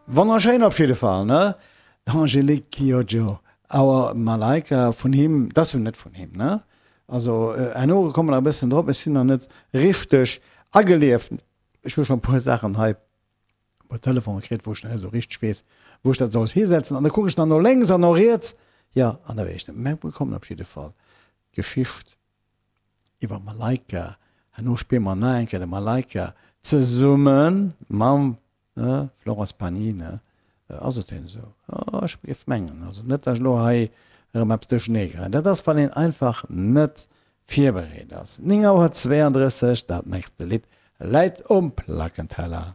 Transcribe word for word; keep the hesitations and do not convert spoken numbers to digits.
Wonnerschéin op jidde Fall, ne? D'Angélique Kidjo, Our Malaika vun him, dat ass jo net vun him, ne? Also herno komme mer nach e bëssen drop, ech sinn nach net richteg agelieft. Ech hu schonn e puer Saachen hei, e puer Telefonen kritt, wou ech nach net esou richteg weess, wou ech dat soll hisetzen. An da kucken ech nach no lénks an no riets, jo, an da weess ech net. Mä mir kommen op jidde Fall d'Geschicht iwwer Malaika. Herno spille mer nach eng Kéier de Malaika zesumme mam Florence Pagny, ne? Ass et denn esou? Jo, ech géif mengen. Also net, datt ech elo hei erëm eppes duerchernee kréien. Dat ass, wann een einfach net virbereet ass. Néng Auer zweeandrësseg, dat nächste Lidd läit um Plackenteller.